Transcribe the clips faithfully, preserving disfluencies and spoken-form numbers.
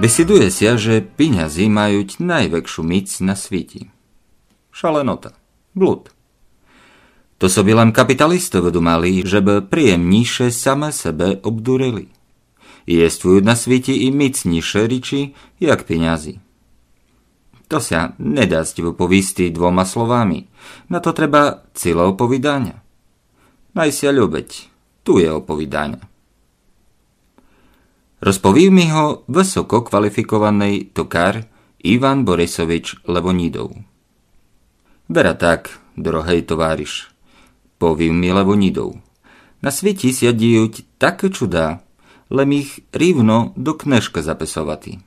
Высвідує ся, же пінязі мают найвекшу міц на світі. Шаленота. Блуд. То собі лем капіталісты выдумали, жебы приємнійше саме себе обдурили. Єствуют на світі і міцнійше річі, як пінязі. То ся не дасть выповісти двома словами. На то треба ціле оповіданя. Най ся любить, тує оповіданя. Розповів мі го высококваліфікованый токар Іван Борисович Левонідов. Вера так, дорогый товариш, повів мі Левонідов. На світі ся діють такы чуда, лем їх рівно до книжкы записовати.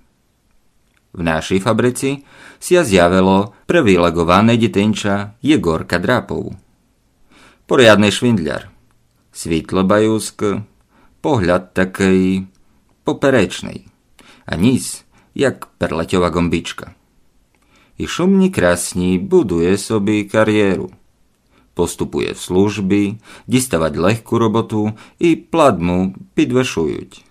В нашій фабриці ся зявило привілеґоване дітинча Єґорка Драпов. Порядный швіндлер. Світло баюскы, погляд такый поперечный, а ніс, як перлетьова ґомбічка. І шумні красні будує собі карєру. Поступує в службі, діставать легку роботу і плат му підвышують.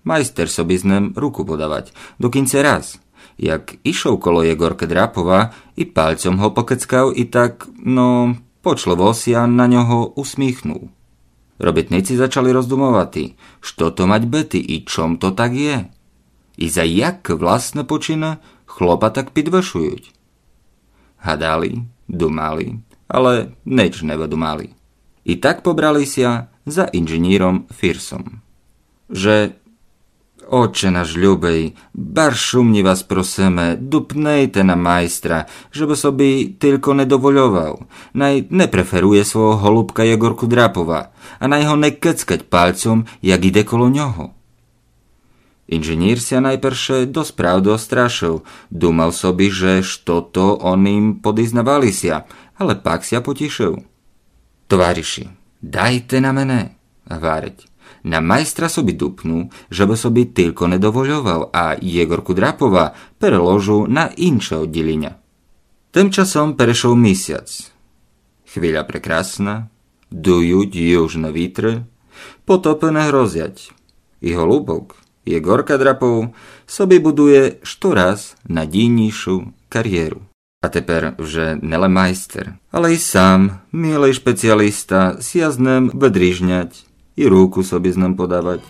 Майстер собі з ним руку подавать, докінця раз, як ішов коло Єґоркы Драпова і пальцьом го покецкав і так, но, почливо ся на нього усміхнув. Робітниці зачали роздумовати, што то мать быти і чом то так є. І за якы власны почины хлопа так підвышують. Гадали, думали, але нич не выдумали. І так побрали ся за інженіром Фірсом. Же: Отче наш любый, барз шумні вас просиме, дупнийте на майстра, жебы собі тілько не довольовав. Най не преферує свого голубка Єґорку Драпова, а най го не кецкать пальцьом, як іде коло нього. Інженір ся найперше досправды острашыв, думав собі, же што то о ним подізнавали ся, але пак ся потішыв. Товариші, дайте на мене, гварить. На майстра собі дупну, жебы собі тілько не довольовав, а Єґорку Драпова переложу на інше одділіня. Тым часом перешов місяц. Хвіля прекрасна, дують южны вітры, потопы не грозять. І голубок, Єґорка Драпов, собі будує штораз надійнійшу карєру. А тепер вже не лем майстер, але й сам мілый шпеціаліста ся з ним выдріжнять і руку собі з ним подавать.